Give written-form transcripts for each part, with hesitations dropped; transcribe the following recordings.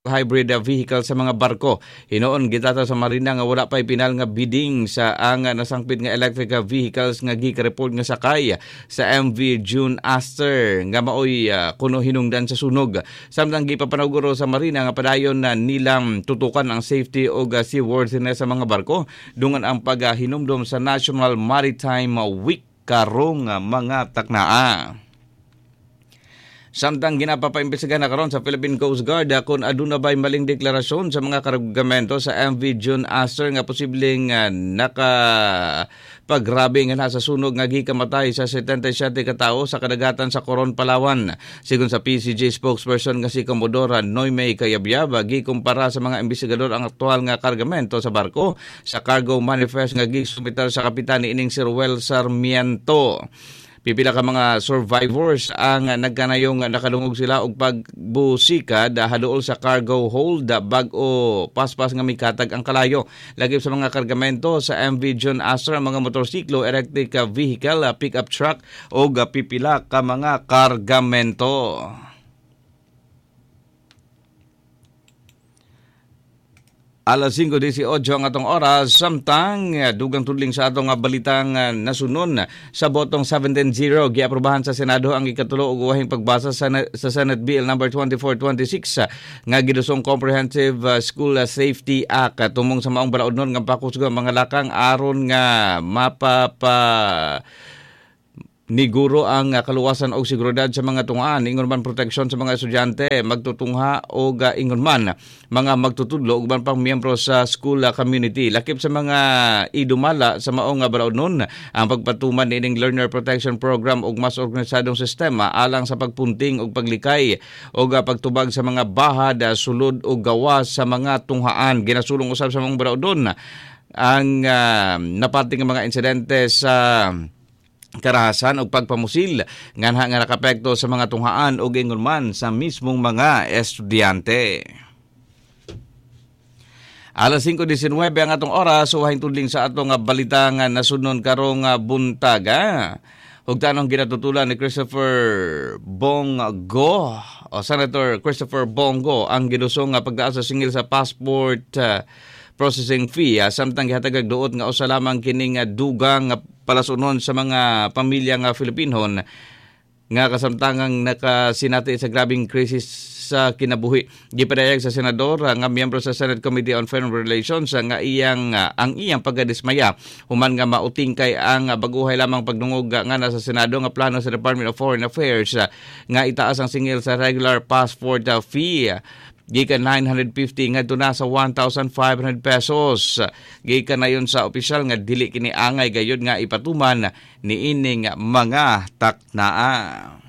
Hybrid vehicle sa mga barko. Hinuon gitata sa Marina nga wala pa'y pinal nga bidding sa ang nasangpit nga electric vehicles nga gika-report nga sakay sa MV June Aster nga maoy kuno hinungdan sa sunog. Samtang gipapanuguro sa Marina nga padayon na nilang tutukan ang safety og seaworthiness sa mga barko dungan ang paghinumdom sa National Maritime Week karong mga taknaa. Samtang ginapapaimbestigahan na karon sa Philippine Coast Guard kung aduna ba'y maling deklarasyon sa mga kargamento sa MV June Aster nga posibleng naka paggrabe nga nasa sunog nga gikamatay sa 77 ka tawo sa kadagatan sa Coron, Palawan. Sigon sa PCG spokesperson nga si Commodore Noyme Cayabyab, gikumpara sa mga investigador ang aktual nga kargamento sa barko sa cargo manifest nga gisumitar sa kapitan niining si Ruel Sarmiento. Pipila ka mga survivors ang nagkanayong nakadungog sila og pagbusikad haduol sa cargo hold bag-o paspas nga mikatag ang kalayo. Lagip sa mga kargamento sa MV John Astor ang mga motorsiklo, electric vehicle, pickup truck og pipila ka mga kargamento. Alas 5:18 ang atong oras, samtang dugang tudling sa atong balitang nasunon sa botong 17-0 giaprobahan sa Senado ang ikatulo ug uwahing pagbasa sa Senate Bill number 2426 nga gidusong Comprehensive School Safety Act tumong sa maong balaodnon nga pakusog ang mga lakang aron nga mapapa niguro ang kaluwasan og seguridad sa mga tungaan, ingon man proteksyon sa mga estudyante, magtutungha og ingon man mga magtutudlo ug uban pang miyembro sa school community. Lakip sa mga idumala sa maong balaodnon ang pagpatuman niining Learner Protection Program ug mas organisadong sistema alang sa pagpunting ug paglikay ug pagtubag sa mga bahad, sulod ug gawas sa mga tunghaan. Ginasulong usab sa maong balaodnon ang napating mga insidente sa karahasan og pagpamusil nganha nga nakapekto sa mga tunghaan og ingon man sa mismong mga estudyante. Alas 5:19 ang atong oras, uwahing tudling sa atong balitang nasunon karong buntag. Hugtanong ginatutulan ni Christopher Bongo o Senator Christopher Bongo ang gidusong pagtaas sa singil sa passport processing fee, samtang gihatag duot nga usa lamang kining dugang palasunon sa mga pamilya nga Filipinhon nga kasamtangang nakasinati sa grabing krisis sa kinabuhi. Gipadayag sa senador nga miyembro sa Senate Committee on Foreign Relations nga iyang ang iyang pagkadismaya human nga mautingkay ang baguhay lamang pagdungog nga nasa Senado nga plano sa Department of Foreign Affairs nga itaas ang singil sa regular passport fee gikan 950 ngadto na sa 1,500 pesos. Gikan na yun sa opisyal nga dili kini angay gayud nga ipatuman niining mga taknaa.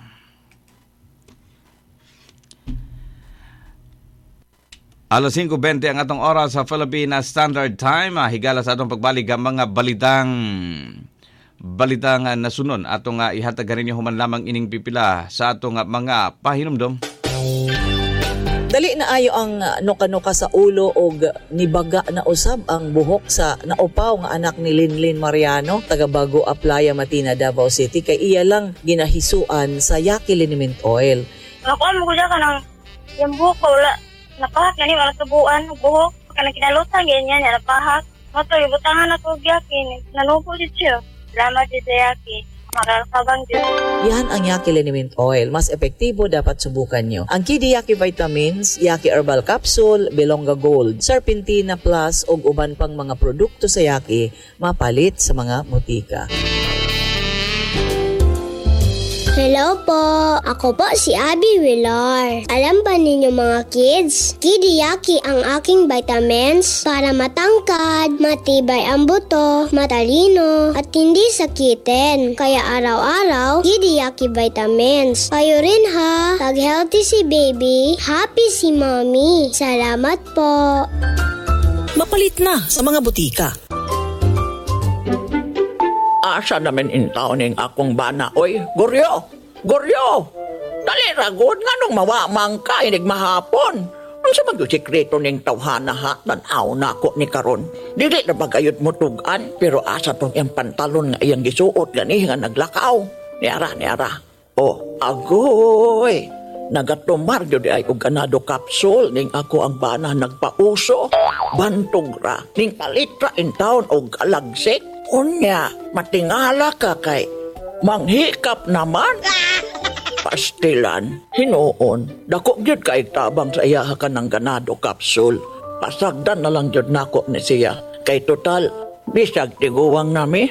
Alas 5:20 ang atong oras sa Philippine Standard Time. Higala sa atong pagbalik ang mga balitang nasunon atong ihatag kaninyo human lamang ining pipila sa atong mga pahinumdom. Dali na ayo ang nuka-nuka sa ulo og nibaga na usab ang buhok sa naupaw nga anak ni Linlin Mariano, taga Bago Aplaya, Matina, Davao City, kay iya lang ginahisuan sa Yaki Liniment Oil. Nakuha mo ko siya kanang yung buhok ko, wala, napahak na niyo, wala tubuan, buhok, kanang kinalutan, ganyan, napahak. Mato, ibutangan na ko Yaki, nanubo siya. Salamat sa Yaki. Yan ang Yaki Liniment Oil. Mas epektibo, dapat subukan nyo. Ang Kidi Yaki Vitamins, Yaki Herbal Capsule, Belonga Gold, Serpentina Plus ug uban pang mga produkto sa Yaki mapalit sa mga butika. Hello po! Ako po si Abby Villar. Alam ba ninyo mga kids? Kidiyaki ang aking vitamins para matangkad, matibay ang buto, matalino, at hindi sakitin. Kaya araw-araw, Kidiyaki vitamins. Kayo rin ha! Pag healthy si baby, happy si mommy. Salamat po! Mapalit na sa mga butika. Asa namin in taon ning akong bana, oy. Goryo! Goryo! Dali ragod nga nung mawamang ka, inig mahapon. Ang sa mag-sikreto ning tawhana ha, tanaw na ako ni karon. Dili na bagayot mo tugan, pero asa tong iyang pantalon nga iyang gisuot gani nga naglakaw. Niara, niara. Oh, agoy! Nagatumar gyud ay og Ganado Capsule ning ako ang bana nagpauso. Bantog ra ning palitra in town og alagsik. Unya, matingala ka kay manghikap naman. Pastilan, hinuon, dako gyud kay tabang sa iyaha ka ng Ganado Capsule. Pasagdan na lang gyud nako ni siya. Kay total, bisag tiguwang nami.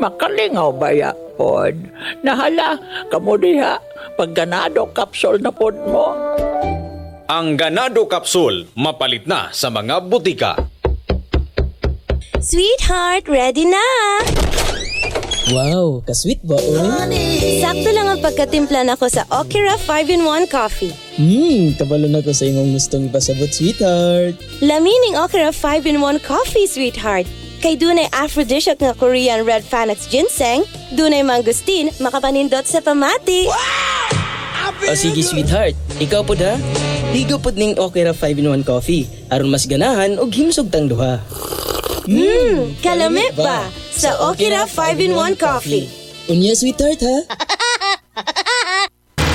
Makalingaw baya pod. Nahala, kamo diha, pag Ganado Capsule na pod mo. Ang Ganado Capsule, mapalit na sa mga butika. Sweetheart, ready na! Wow, ka-sweet ba, oy? Sakto lang ang pagkatimpla nako sa Okira 5-in-1 coffee. Kabalo na ko sa imong gustong ipasabot, sweetheart. Lamining Okira 5-in-1 coffee, sweetheart. Kay dunay aphrodisiac nga Korean Red Panax ginseng, dunay mangosteen, makapanindot sa pamati. O sige, sweetheart. Ikaw pod ha? Higo pod ning Okira 5-in-1 coffee. Aron mas ganahan og himsog tang duha. Kalami ba? Sa Okira 5-in-1 coffee. Unya, sweetheart, ha?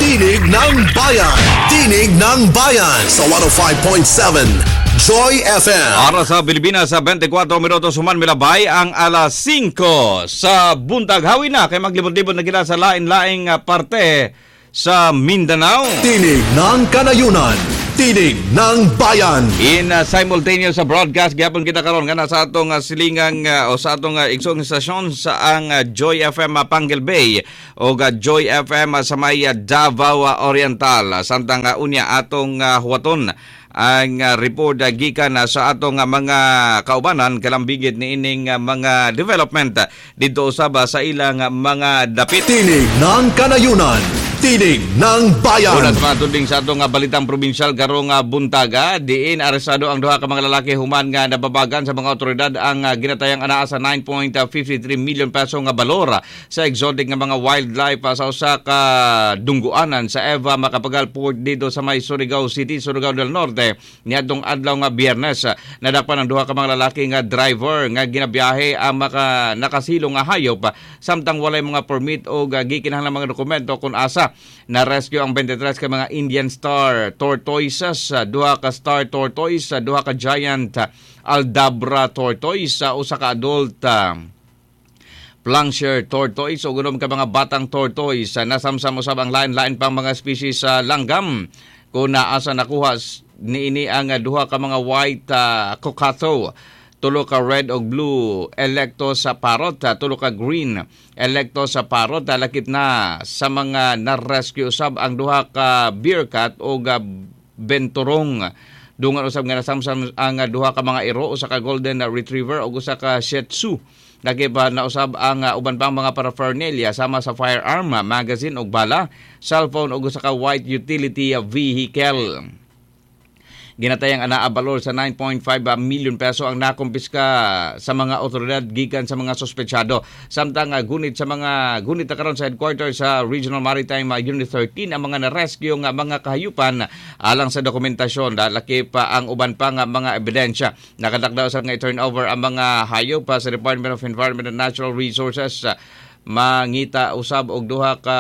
Tinig ng Bayan. Tinig ng Bayan sa 105.7 Joy FM. Oras sa Pilipinas sa 24 minutos human milabay ang alas 5 sa buntag. Hawi na kay maglibot-libot na kita sa lain-laing parte sa Mindanao. Tinig ng Kanayunan. Tinig ng Bayan. In simultaneous sa broadcast gyapon kita karon nga sa atong silingang o sa atong igsoong istasyon sa ang Joy FM Panguil Bay o Joy FM sa may Davao Oriental. Samtang unya atong huwaton ang report gikan sa atong mga kaubanan kalambigit niining mga development didto usab sa ilang mga dapit. Tinig ng Kanayunan. Tinig ng Bayan. Una sa mga tudling sa atong balitang probinsyal karong buntaga, diin arestado ang duha ka mga lalaki human nga nababagan sa mga otoridad ang ginatayang anaa sa 9.53 million peso nga balor sa exotic nga mga wildlife sa usa ka dungguanan sa Eva Macapagal Port dito sa may Surigao City, Surigao del Norte niadtong adlaw nga Biyernes. Nadakpan ang duha ka mga lalaki nga driver nga ginabiyahe ang nakasilong nga hayop samtang walay mga permit o gikinahanglan mga dokumento kung asa. Na-rescue ang 23 ka mga Indian star tortoises, duha ka star tortoise, duha ka giant Aldabra tortoise, usa ka adult Plancher tortoise ug unom ka mga batang tortoise. Nasamsam usab ang lain-lain pang mga species sa langgam. Kung naasa nakuha niini ang duha ka mga white cockatoo, tulo ka red o blue electo sa parrot, tulo ka green electo sa parrot. Lakip na sa mga na-rescue usab ang duha ka beer cat o benturong. Dungan usab nga nasamsam ang duha ka mga iro, usa ka golden retriever ug usa ka shih tzu. Lakip na usab ang uban pang mga paraphernalia sama sa firearm, magazine ug bala, cellphone ug usa ka white utility vehicle. Ginatayang anaa balor sa 9.5 million peso ang nakumpiska sa mga otoridad gikan sa mga sospechado. Samtang gunit sa mga gunit na karon sa headquarters sa Regional Maritime Unit 13 ang mga na-rescue nga mga kahayupan alang sa dokumentasyon, lakip ang uban pa nga mga ebidensya. Nakatakda usab nga i-turn over ang mga hayop sa Department of Environment and Natural Resources. Mangita usab og duha ka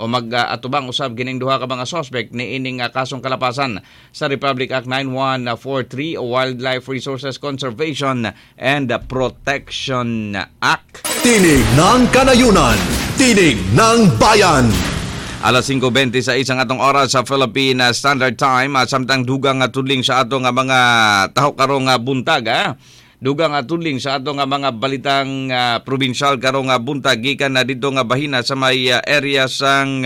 o mag-atubang usab kining duha ka mga suspect niining kasong kalapasan sa Republic Act 9143 o Wildlife Resources Conservation and Protection Act. Tinig ng Kanayunan, Tinig ng Bayan. Alas 5:26 ang atong oras sa Philippine Standard Time, at samtang dugang tudling sa atong mga tahok karong buntag, dugang tudling sa atong mga balitang probinsyal karong buntag gikan na didto nga bahina sa may area sang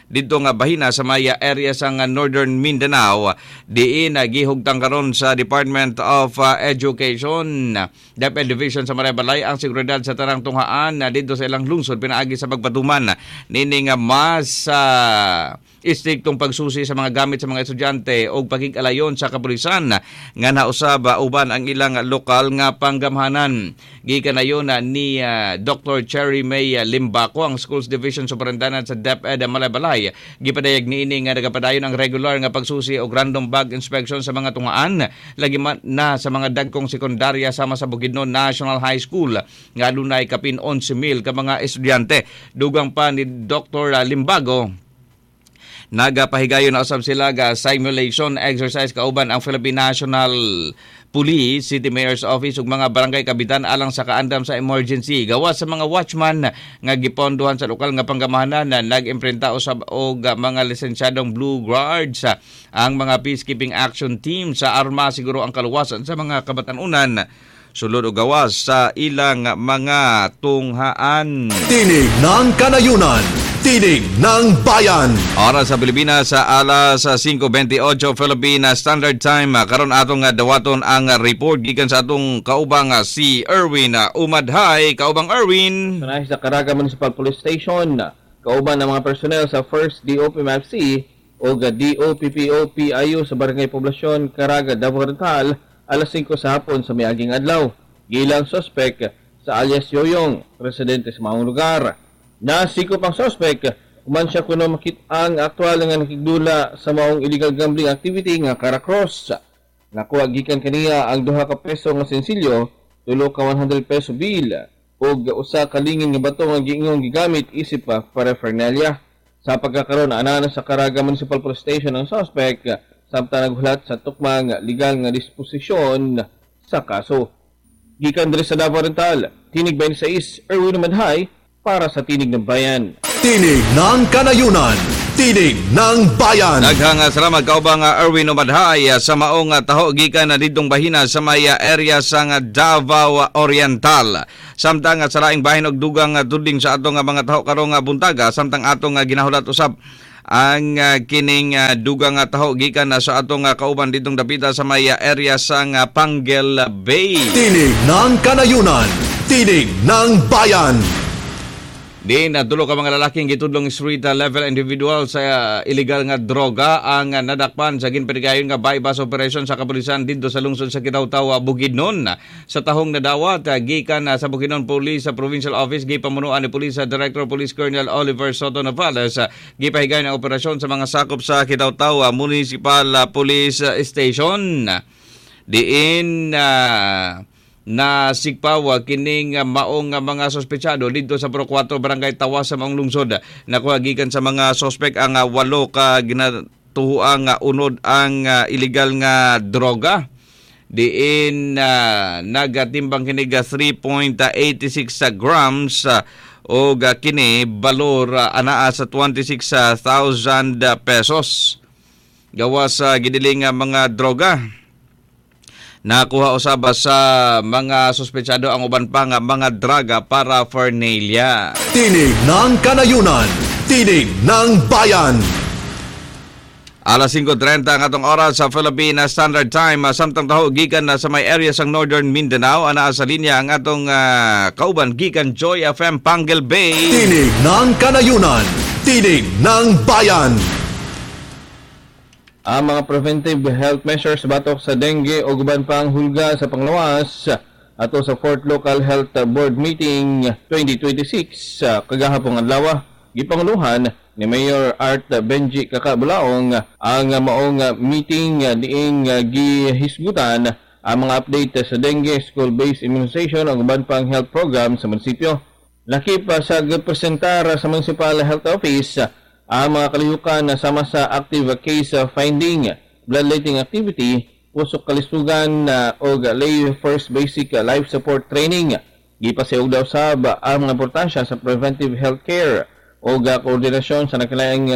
didto nga bahina sa may area sang Northern Mindanao, diin gihugtang karon sa Department of Education DepEd Division sa Malaybalay ang seguridad sa tanang tunghaan didto sa ilang lungsod pinaagi sa pagpatuman nining mas istriktong pagsusi sa mga gamit sa mga estudyante o pagkikalayon sa kapulisan nga nausab uban ang ilang lokal nga panggamhanan. Gikan ayon ni Dr. Cherry May Limbaco, ang Schools Division Superintendent sa DepEd Malaybalay. Gipadayag niini nga nagapadayon ang regular nga pagsusi og random bag inspection sa mga tungaan lagi man na sa mga dagkong sekundarya sama sa Bukidnon National High School nga adunay kapin 11,000 ka mga estudyante. Dugang pa ni Dr. Limbago, Nagapahigayon na usab sila ga simulation exercise kauban ang Philippine National Police, City Mayor's Office ug mga barangay kapitan alang sa kaandam sa emergency. Gawas sa mga watchman nga gipondohan sa lokal nga panggamahanan, nag-imprenta usab og mga lisensyadong Blue Guards ang mga peacekeeping action team sa arma siguro ang kaluwasan sa mga kabatanunan sulod o gawas sa ilang mga tunghaan. Tinig ng Kanayunan, Tinig ng Bayan. Oras sa Pilipinas sa alas 5:28 Philippine Standard Time. Karon atong dawaton ang report gikan sa atong kaubang si Erwin Umadhay. Kaubang Erwin. Sanahin sa Caraga Municipal Police Station, kauban ng mga personnel sa 1st DOPMFC o DOPPOPIU sa Barangay Poblasyon, Caraga, Davao Oriental, alas 5 sa hapon sa miaging adlaw. Gilang suspect sa alias Yoyong, residente sa maong lugar. Nasikop ang suspect, human siya kuno makit-ang aktual nga nakigdula sa maong illegal gambling activity nga Caracross. Nakuha gikan kaniya ang 2 ka peso nga sensilyo, 3 ka 100 peso bill, ug usa ka lingin nga bato nga giingong gigamit isip pa paraphernalia. Sa pagkakaroon, ana sa Caraga Municipal Police Station ang suspect samtang naghulat sa tukmang legal nga disposisyon sa kaso. Gikan diri sa Davao Oriental, Tinig 26, Erwin Madhay, para sa Tinig ng Bayan. Tinig ng Kanayunan, Tinig ng Bayan. Daghang salamat kaubang Erwin Umadhay sa maong taho gikan na didtong bahina sa may area sa Davao Oriental. Samtang sa laing bahin og dugang tudling sa atong mga taho karong buntaga, samtang atong ginahulat usab ang kining dugang taho gikan na sa atong kauban didtong dapita sa may area sa Panguil Bay. Tinig ng Kanayunan, Tinig ng Bayan. Di natulo ka mga lalaking gitudlong street level individual sa illegal nga droga ang nadakpan sa ginpanigayon nga bypass operation sa kapulisan didto sa lungsod sa Kitaw-Taw, Bukidnon. Sa tahong nadawat gikan sa Bukidnon Police sa Provincial Office, gipamunuan ni Police Director Police Colonel Oliver Soto Navales, gipahigayon ang operasyon sa mga sakop sa Kitaw-Taw Municipal Police Station. Diin na sigpaw kining maong mga sospechado didto sa Pro 4 Barangay Tawas sa maong lungsod. Nakuha gikan sa mga sospek ang 8 ka ginatuhuang unod ang illegal nga droga. Diin nagatimbang kini 3.86 grams o kini balor anaa sa 26,000 pesos. Gawas sa gidiling mga droga. Nakuha usab sa mga suspetsado ang uban pa nga mga draga para paraphernalia. Tinig ng Kanayunan, Tinig ng Bayan. Alas 5:30 ang atong oras sa Philippine Standard Time. Samtang taho gikan na sa may area sang Northern Mindanao, anaa sa linya ang atong kauban gikan Joy FM Panguil Bay. Tinig ng Kanayunan, Tinig ng Bayan. Ang mga preventive health measures batok sa dengue o uban pang hulga sa panglawas ato sa 4th Local Health Board Meeting 2026 kagahapong adlaw, gipanguluhan ni Mayor Art Benji Kakabulaong ang maong meeting diing gihisgutan ang mga update sa dengue, school-based immunization o uban pang health program sa munisipyo. Lakip sa gipresentar sa Municipal Health Office ang mga kalihukan na sama sa active case finding, bloodletting activity, pusok kalisugan o lay first basic life support training. Gipasayog daw sab ang mga importansya sa preventive health care o koordinasyon sa nakalaing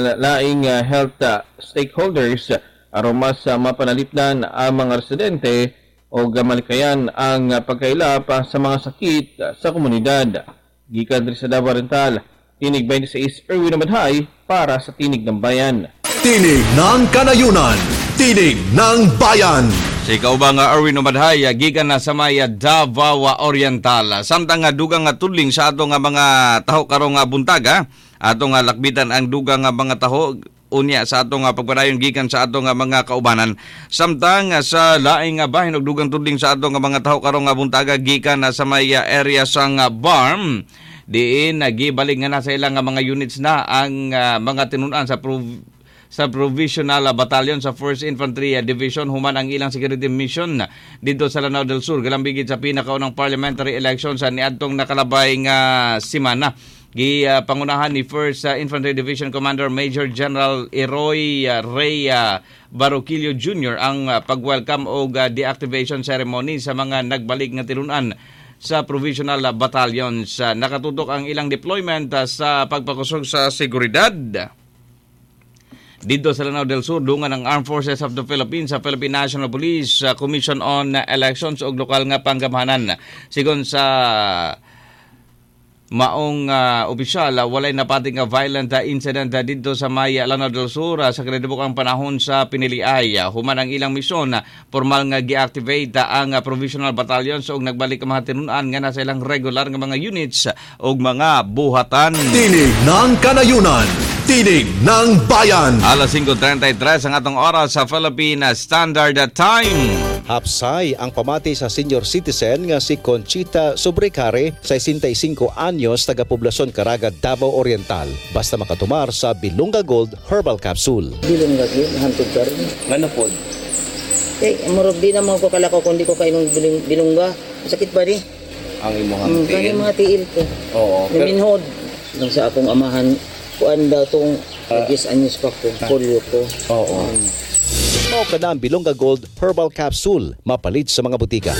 health stakeholders aron mas mapanalipdan ang mga residente o malikayan ang pagkaila pa sa mga sakit sa komunidad. Gikan diri sa Davao Oriental, Tinig 26, Erwin Madhay, para sa Tinig ng Bayan. Tinig ng Kanayunan, Tinig ng Bayan. Si kaubang Erwin Umadhay, gikan na sa may Davao Oriental. Samtang nga dugang nga tudling sa atong mga taho karong buntaga, atong lakbitan ang dugang nga mga taho unya sa atong pagpadayon gikan sa atong mga kaubanan. Samtang sa laing bahin og dugang tudling sa atong mga taho karong buntaga gikan na sa may area sang Barm, diin nagibalik nga na sa ilang mga units na ang mga tinun-an sa Provisional Battalion sa 1st Infantry Division human ang ilang security mission dito sa Lanao del Sur galambigit sa pinakaunang parliamentary election sa niadtong nakalabay nga semana. Gipangunahan ni 1st Infantry Division Commander Major General Eroy Ray Baroquillo Jr. ang pag-welcome og deactivation ceremony sa mga nagbalik nga tinunan sa provisional battalions. Nakatutok ang ilang deployment sa pagpakusog sa seguridad. Dito sa Lanao del Sur, dungan ang Armed Forces of the Philippines sa Philippine National Police, Commission on Elections ug lokal nga panggamhanan. Sigon sa maong opisyal, walay napati nga violent incident didto sa may Lanao del Sur sa kinadibukang panahon sa piniliay. Human ang ilang misyon, formal nga gi-activate ang provisional battalions ug nagbalik ang mga tinunan nga nasa ilang regular nga mga units ug mga buhatan. Tinig ng Kanayunan, Tinig ng Bayan. Alas 5:33 ang atong oras sa Philippine Standard Time. Hapsay ang pamati sa senior citizen nga si Conchita Sobrecare, 65 anyos, taga-poblasyon Caraga, Davao Oriental. Basta makatumar sa Bilonga Gold Herbal Capsule. Bilonga Gold, hantog ka rin. Ano po? Eh, murag di naman ko kalakaw kung di ko kainom bilongga. Sakit ba di? Ang imong tiil? Ang mga tiil ko. Oo. Naminhod. Lang sa akong amahan, kuan daw itong 10 anyos pa ko, polio ko. Oo. Mao ka na ang Bilonga Gold Herbal Capsule, mapalit sa mga butika.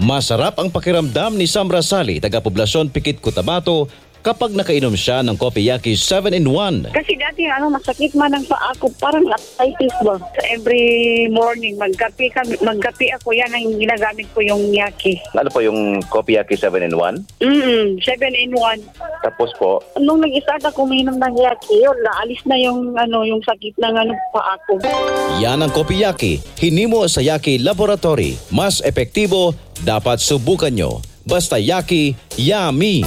Masarap ang pakiramdam ni Sam Rasali, taga-poblasyon Pikit, Cotabato, kapag nakainom siya ng Kopiyaki 7-in-1. Kasi dati masakit man ang paa ko, parang arthritis ba. So every morning magkape ako, yan ang ginagamit ko yung yaki. Ano po yung Kopiyaki 7-in-1? 7-in-1. Tapos po? Nung nag-start ako uminom ng yaki, yun, naalis na yung yung sakit ng paa ko. Yan ang Kopiyaki, hinimo sa Yaki Laboratory. Mas epektibo, dapat subukan nyo. Basta Yaki, yummy!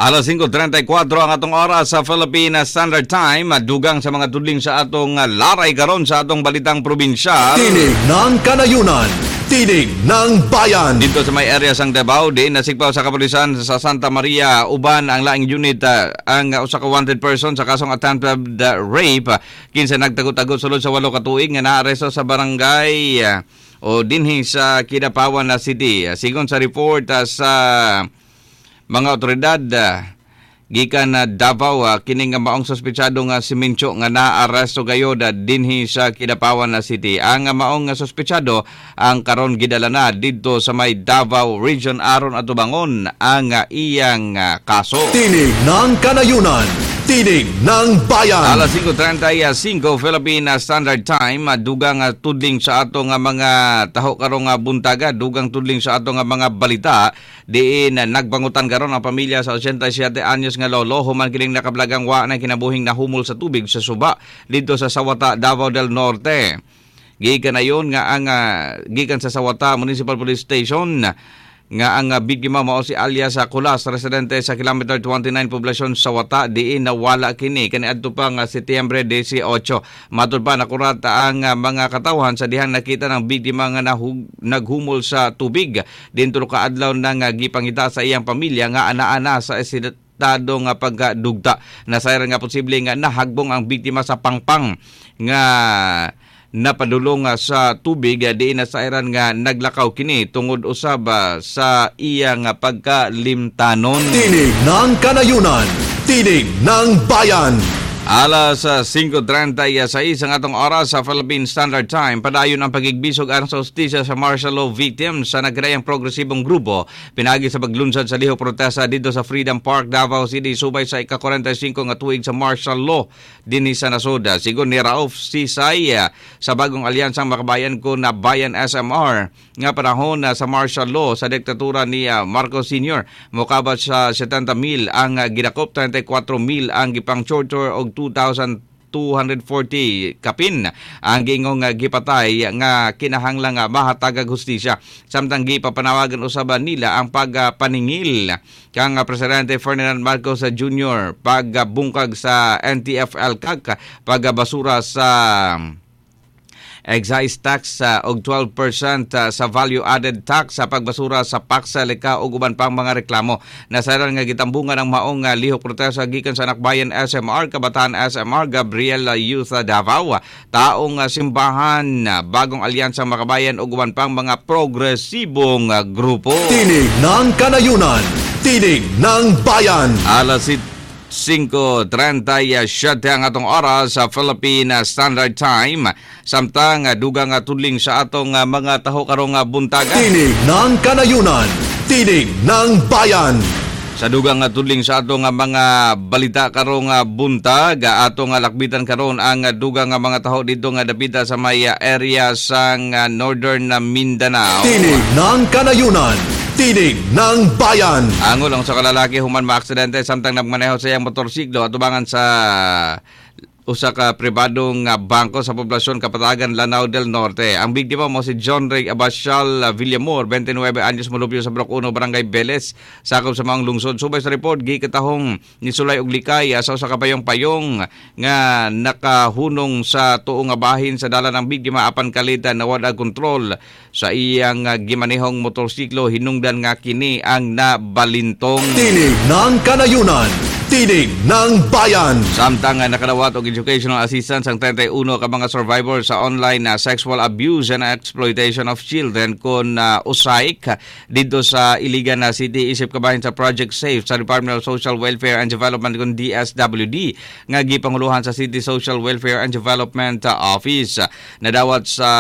Alas 5:34 ang atong oras sa Philippine Standard Time. Dugang sa mga tudling sa atong laray karon sa atong balitang probinsyal. Tinig ng Kanayunan, Tinig ng Bayan. Dito sa may area sang Davao, di nasigpaw sa kapulisan sa Santa Maria uban ang laing unit ang usa ka wanted person sa kasong attempted rape kinsa nagtago-tago sulod sa 8 ka tuig nga naaresto sa barangay o dinhi sa Kidapawan na City. Sigon sa report sa mga otoridad gikan na Davao, kini nga maong sospetsado nga si Mincho nga naaresto gayod dinhi sa Kidapawan na City. Ang maong sospetsado ang karon gidala na didto sa may Davao Region aron atubangon ang iyang kaso. Tinig ng Kanayunan, Tinig ng Bayan. Alas 5:35 Philippine Standard Time, dugang tudling sa atong mga taho karong buntaga, dugang tudling sa atong mga balita diin nagbangutan karon ang pamilya sa 87 anyos nga lolo human kining nakablagang wa na kinabuhing nahumol sa tubig sa suba didto sa Sawata, Davao del Norte. Gikan ayon nga ang gikan sa Sawata Municipal Police Station nga ang biktima mao si alias Kulas, residente sa kilometer 29 poblasyon Sawata, diin nawala kini kaniadto pa nga Setyembre 18. Matud pa nakurata ang mga katawhan sa dihang nakita ng biktima nga naghumol sa tubig. Dinto kaadlaw nang gipangita sa iyang pamilya nga ana-ana sa estado nga pagdugta. Nasayran nga posible nga nahagbong ang biktima sa pangpang nga napadulong sa tubig, diin nasairan nga naglakaw kini tungod usab sa iyang pagkalimtanon. Tinig ng Kanayunan, Tinig ng Bayan. Alas 5:36 ang atong oras sa Philippine Standard Time. Padayon ang pagigbisog aron sa hustisya sa martial law victims sa nagkadayang progresibong grupo. Pinagi sa paglunsad sa lihok protesta dito sa Freedom Park, Davao City, subay sa ika-45 nga tuig sa martial law dinhi sa nasod. Sigon ni Rauf Sisay sa bagong alyansang Makabayan ko na Bayan SMR nga panahon sa martial law sa diktatura ni Marcos Sr. Mokabat sa 70,000 ang gidakop, 34,000 ang gipang-torture og 2,240 kapin ang giingong gipatay nga kinahanglan nga mahatagag hustisya. Samtang gipapanawagan usab nila ang pagpaningil kang Presidente Ferdinand Marcos Jr. pagbungkag sa NTF-ELCAC, pagbasura sa Excise tax og 12% sa value added tax sa pagbasura sa paksa leka ug uban pang mga reklamo. Nasayran nga gitambungan ang maong lihok protesta gikan sa Anakbayan SMR, Kabataan SMR, Gabriela Youth Davao, Taong Simbahan, Bagong Alyansa Makabayan ug uban pang mga progresibong grupo. Tinig ng Kanayunan, Tinig ng Bayan. Alas 5:37 ang atong oras sa Philippine Standard Time. Samtang dugang tudling sa atong mga taho karong buntaga. Tinig ng Kanayunan, Tinig ng Bayan. Sa dugang tudling sa atong mga balita karong buntag, atong lakbitan karon ang dugang mga taho dito nga dapita sa may area sang Northern Mindanao. Tinig ng Kanayunan, Tinig ng Bayan. Angol ang sa kalalaki human maaksidente samtang nagmaneho sa iyang motorsiklo atubangan sa usa ka pribadong bangko sa poblasyon Kapatagan, Lanao del Norte. Ang biktima mo si John Ray Abasial Villamor, 29 anyos, mulupyo sa Blok 1, Barangay Beles, sakop sa maong lungsod. Subay sa report, gikatahong ni Sulay og likay sa usa ka payong-payong nga nakahunong sa tuo nga bahin sa dalan ng biktima apan kalitan nawad ang kontrol sa iyang gimanehong motorsiklo, hinungdan nga kini ang nabalintong. Tinig ng Kanayunan, Tinig ng Bayan. Samtang nakadawat og educational assistance ang 31 ka mga survivor sa online sexual abuse and exploitation of children kon USAIC dito sa Iligan City, isip kabahin sa Project Safe sa Department of Social Welfare and Development kon DSWD nga gipanguluhan sa City Social Welfare and Development Office. Nadawat sa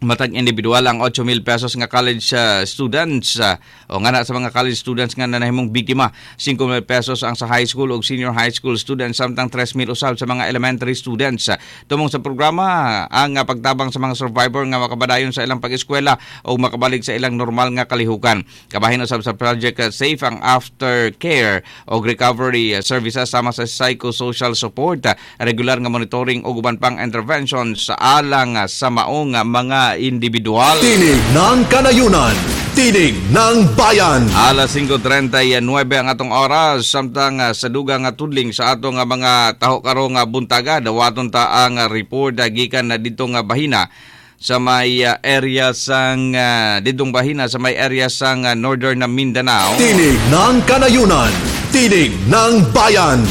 matag individual ang 8,000 pesos nga college students o nga na sa mga college students nga nanahimong biktima, 5,000 pesos ang sa high school ug senior high school students samtang 3,000 usab sa mga elementary students. Tumong sa programa ang pagtabang sa mga survivor nga makabadayon sa ilang pag-eskwela o makabalik sa ilang normal nga kalihukan. Kabahin usab sa Project Safe ang aftercare o recovery services sama sa psychosocial support, regular nga monitoring ug uban pang intervention sa alang sa maong mga individual. Tinig ng Kanayunan, Tinig ng Bayan. Alas 5:39 ang atong oras, samtang sa dugang tudling sa atong mga taho karong buntaga, dawaton ta ang report gikan na dito nga bahina sa may area sang didong bahina sa may area sang Northern Mindanao. Tinig ng Kanayunan, Tinig ng Bayan.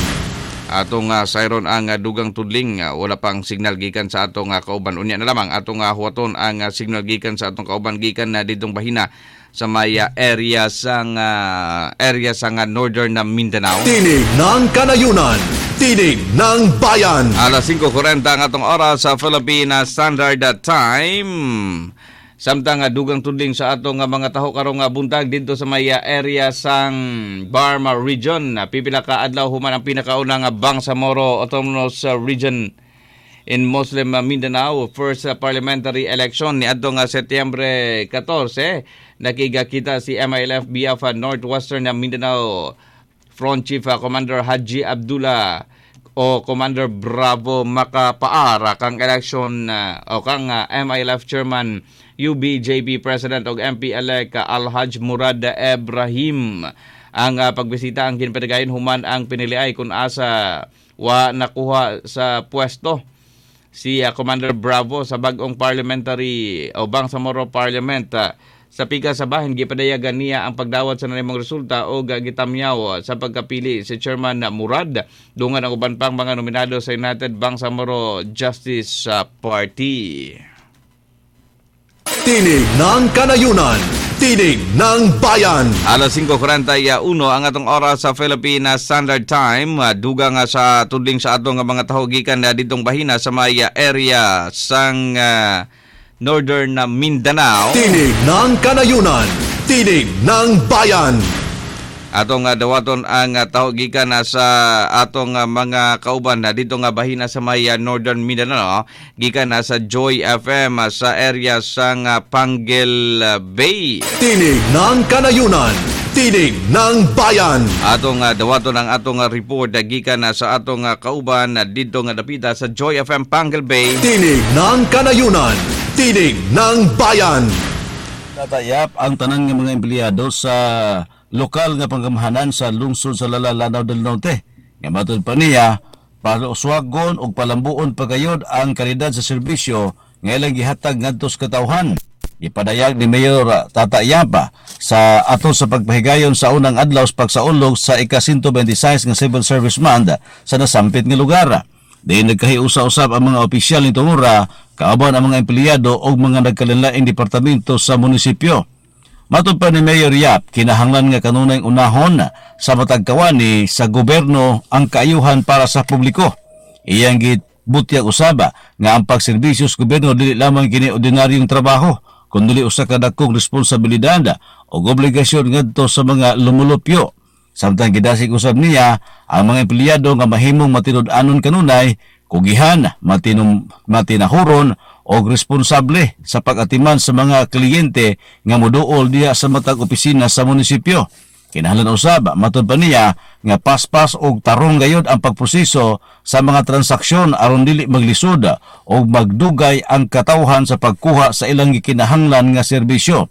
Atong sayron ang dugang tudling, wala pang signal gikan sa atong kauban. Unya na lamang atong huwaton ang signal gikan sa atong kauban gikan na didtong bahina sa may area sang Northern Mindanao. Tinig ng Kanayunan, Tinig ng Bayan. Alas 5:40 ang atong oras sa Philippine Standard Time. Samtang dugang tudling sa atong mga taho karong buntag didto sa may area sang Barma Region, pipila ka adlaw human ang pinakauna nga Bangsamoro Autonomous Region in Muslim Mindanao first parliamentary election niadto nga Setyembre 14. Nakigakita si MILF BF Northwestern Mindanao Front Chief Commander Haji Abdullah o Commander Bravo Makapaar kang election o kang MILF Chairman UBJB President og MP-elect Alhaj Murad Ebrahim. Ang pagbisita ang ginpadayon human ang piniliay kung asa wa nakuha sa pwesto si Commander Bravo sa bag-ong parliamentary o Bangsamoro Parliament. Sa pika sa bahin, gipadayagan niya ang pagdawat sa nanimong resulta o gitamyaw sa pagkapili si Chairman Murad dungan ang uban pang mga nominado sa United Bangsamoro Justice Party. Tinig ng Kanayunan, Tinig ng Bayan. Alas 5:41 ang atong oras sa Philippine Standard Time. Duga nga sa tudling sa atong mga taho gikan na ditong bahina sa may area sang Northern Mindanao. Tinig ng Kanayunan, Tinig ng Bayan. Atong dawaton ang taho gikan sa atong mga kauban na dito nga bahina sa may Northern Mindanao, gikan sa Joy FM sa area sang Panguil Bay. Tinig ng Kanayunan, Tinig ng Bayan. Atong dawaton ang atong report gikan sa atong kauban dito nga dapita sa Joy FM Panguil Bay. Tinig ng Kanayunan, Tinig ng Bayan. Tatayap ang tanan nga mga empleyado sa lokal nga panggamhanan sa lungsod sa Lala, Lanao del Norte. Nga matod pa niya, Paluswagon ug palambuon pagayod ang kalidad sa serbisyo nga ilang gihatag ngadto sa katawhan. Gipadayag ni Mayor Tata Yap sa ato sa pagpahigayon sa unang adlaw sa pagsaulog sa ika-126 nga Civil Service Month sa nasampit nga lugar. Diin nagkahiusa-usab ang mga opisyal ni Tungura, kauban ang mga empleyado ug mga nagkalinlaing departamento sa munisipyo. Matod pa ni Mayor Yap, kinahanglan nga kanunay unahon sa matag kawani sa gobyerno ang kaayuhan para sa publiko. Iyang gibutyag usaba nga ang pagserbisyo sa gobyerno dili lamang kini ordinaryong trabaho, kundi usa ka dakong responsibilidad ug obligasyon ngadto sa mga lumulupyo. Samtang gidasig usab niya ang mga empleyado nga mahimong matinud-anon kanunay, kugihan, matinahuron og responsable sa pag-atiman sa mga kliyente nga moduol diha sa matag opisina sa munisipyo. Kinahanglan usab matod pa niya nga paspas og tarong gayod ang pagproseso sa mga transaksyon aron dili maglisod og magdugay ang katawhan sa pagkuha sa ilang gikinahanglan nga serbisyo.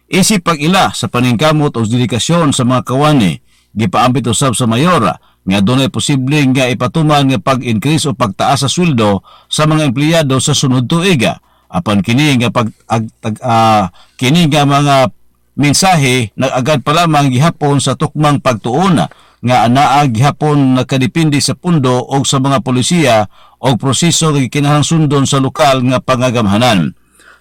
Isip pag-ila sa paningkamot o dedikasyon sa mga kawani, gipaambit usab sa mayor nga dunay posible nga ipatuman nga pag-increase o pagtaas sa sweldo sa mga empleyado sa sunod tuig. Apan kini nga kini nga mga mensahe nag-agad pa lamang gihapon sa tukmang pagtuon nga anaa gihapon nakadepende sa pundo o sa mga polisiya o proseso nga gikinahanglan sundon sa lokal nga pangagamhanan.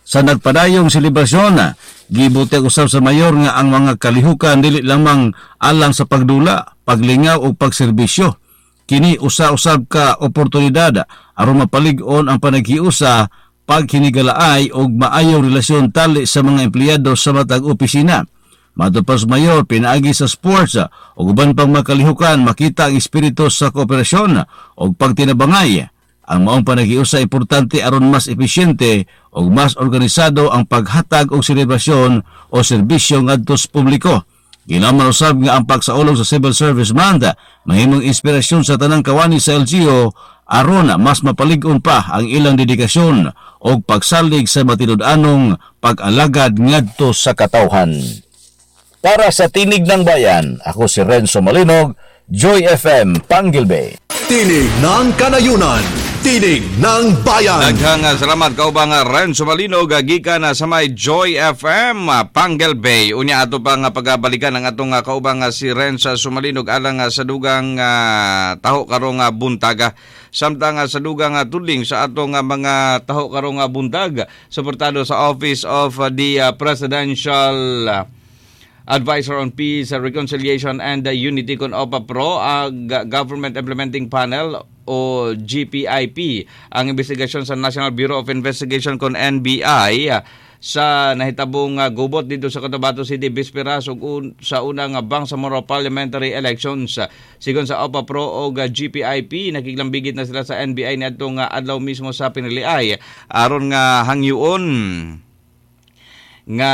Sa nagpadayong selebrasyon, gibutyag usab sa mayor nga ang mga kalihukan dili lamang alang sa pagdula, paglingaw o pagserbisyo. Kini usa-usab ka oportunidad aron mapalig-on ang panaghiusa, paghinigalaay og maayong relasyon tali sa mga empleyado sa matag opisina. Matod pa sa mayor, pinaagi sa sports ug uban pang mga kalihukan makita ang espiritu sa kooperasyon ug pagtinabangay. Ang maong panaghiusa importante aron mas episyente ug mas organisado ang paghatag og selebrasyon o serbisyo ngadto sa publiko. Ginaman usab nga ang pagsaulog sa Civil Service Month mahimong inspirasyon sa tanang kawani sa LGU aron mas mapalig-on pa ang ilang dedikasyon og pagsalig sa matinud-anong pag-alagad ngadto sa katawhan. Para sa Tinig ng Bayan, ako si Renzo Malinog, Joy FM, Panguil Bay. Tinig ng Kanayunan, Tinig ng Bayan. Daghang salamat kaubang Renzo Malinog gikan sa may Joy FM Panguil Bay. Unya ato pang pagabalikan ang atong kaubang si Renzo Sumalinog alang sa dugang taho karong buntaga. Samtang sa dugang tudling sa atong mga taho karong buntag, suportado sa Office of the Presidential Advisor on Peace, Reconciliation and Unity kon OPA-PRO, Government Implementing Panel o GPIP, ang investigasyon sa National Bureau of Investigation kon NBI sa nahitabong gubot dito sa Cotabato City bisperas ug sa unang Bangsamoro Parliamentary Elections. Sigon sa OPA-PRO o GPIP, nakiglambigit na sila sa NBI niadtong adlaw mismo sa piniliay aron nga hangyoon nga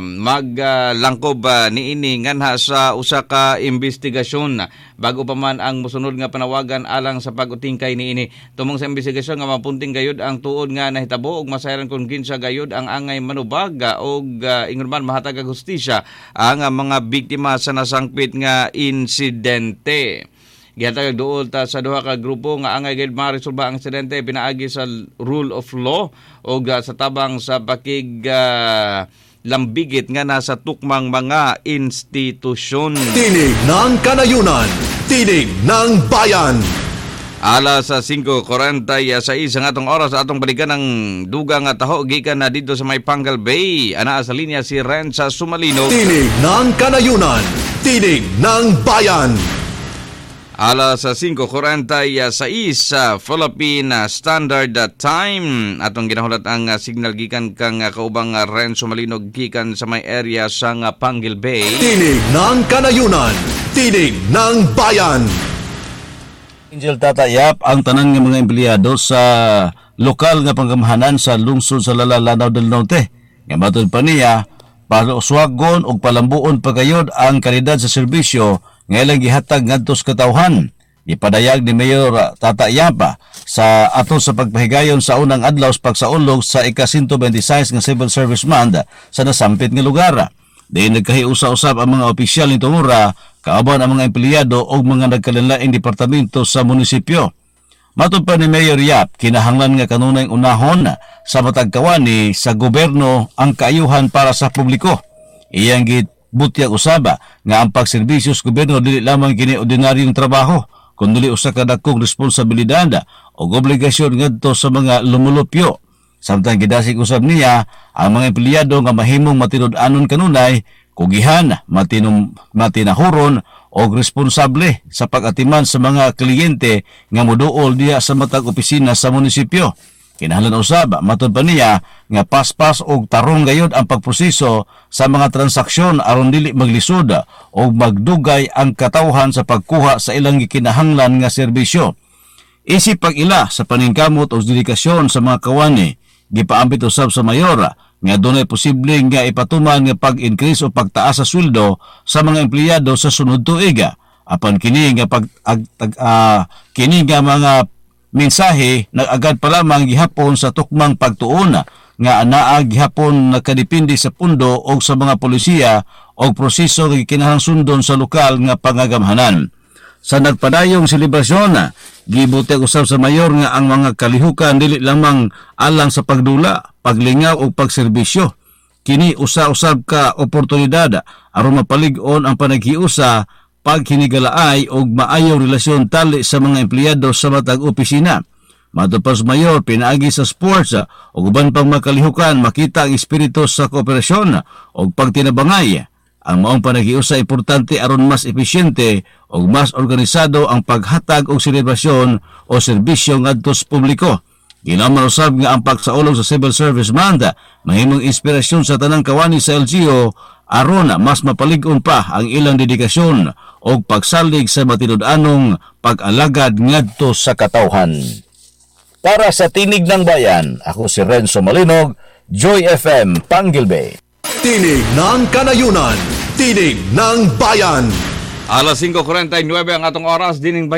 maglangkob niini nganha sa usa ka investigasyon bago pa man ang mosunod nga panawagan alang sa pag-utingkay niini. Tumong sa investigasyon nga mapunting gayud ang tuod nga nahitabo ug masayaran kon kinsa gayud ang angay manubag og ingon man mahatag og hustisya ang mga biktima sa nasangpit nga insidente. Gihatag duol ta sa duha ka grupo nga angay gayud maresolba ang insidente pinaagi sa rule of law o sa tabang sa pakig lambigit nga nasa tukmang mga institusyon. Tinig ng Kanayunan, Tinig ng Bayan. Alas 5:46 ang atong oras, atong balikan ang dugang nga taho gikan na dito sa may Panguil Bay. Anaa sa linya si Renza Sumalino. Tinig ng Kanayunan, Tinig ng Bayan. Alas 5:46 sa Philippine Standard Time. Atong ginahulat ang signal gikan kang kaubang Renzo Malinog gikan sa may area sa Panguil Bay. Tinig ng Kanayunan, Tinig ng Bayan. Angel Tata Yap, ang tanan nga mga empleyado sa lokal nga panggamhanan sa lungsod sa Lala, Lanao del Norte. Nga matod pa niya, paluswagon og palambuon pagayod ang kalidad sa serbisyo nga ilang gihatag ngadto sa katawhan. Gipadayag ni Mayor Tata Yap sa ato sa pagpahigayon sa unang adlaw sa pagsaulog sa ika-126 nga Civil Service Month sa nasampit nga lugar. Diin nagkahiusa-usab ang mga opisyal ni Tungura, kauban ang mga empleyado ug mga nagkalinlaing departamento sa munisipyo. Matod pa ni Mayor Yap, kinahanglan nga kanunay unahon sa matag kawani sa gobyerno ang kaayuhan para sa publiko. Iyang gibutyag usaba nga ang pagserbisyo sa gobyerno dili lamang kini ordinaryong trabaho, kundi usa ka dakong responsibilidad o obligasyon ngadto sa mga lumulupyo. Samtang gidasig usab niya ang mga empleyado nga mahimong matinud-anon kanunay, kugihan, matinahuron og responsable sa pag-atiman sa mga kliyente nga moduol diha sa matag opisina sa munisipyo. Kinahanglan usab, matod pa niya, nga paspas og tarong gayod ang pagproseso sa mga transaksyon aron dili maglisod og magdugay ang katawhan sa pagkuha sa ilang gikinahanglan nga serbisyo. Isip pag-ila sa paningkamot o dedikasyon sa mga kawani, gipaambit usab sa mayor nga dunay posible nga ipatuman nga pag-increase o pagtaas sa sweldo sa mga empleyado sa sunod tuig. Apan kini nga kini nga mga mensahe nag-agad pa lamang gihapon sa tukmang pagtuon nga anaa gihapon nakadepende sa pundo o sa mga polisiya o proseso nga gikinahanglan sundon sa lokal nga pangagamhanan. Sa nagpadayong selebrasyon, gibutyag usab sa mayor nga ang mga kalihukan dili lamang alang sa pagdula, paglingaw o pagserbisyo. Kini usa-usab ka oportunidad aron mapalig-on ang panaghiusa, paghinigalaay og maayong relasyon tali sa mga empleyado sa matag opisina. Matod pa sa mayor, pinaagi sa sports o uban pang makalihukan makita ang espiritu sa kooperasyon o pagtinabangay. Ang maong panaghiusa importante aron mas episyente ug mas organisado ang paghatag og selebrasyon o serbisyo ngadto sa publiko. Ginaman usab nga ang pagsaulog sa Civil Service Month mahimong inspirasyon sa tanang kawani sa LGU aron mas mapalig-on pa ang ilang dedikasyon og pagsalig sa matinud-anong pag-alagad ngadto sa katawhan. Para sa Tinig ng Bayan, ako si Renzo Malinog, Joy FM, Panguil Bay. Tinig ng Kanayunan, Tinig ng Bayan. Alas 5:49 ang atong oras dining.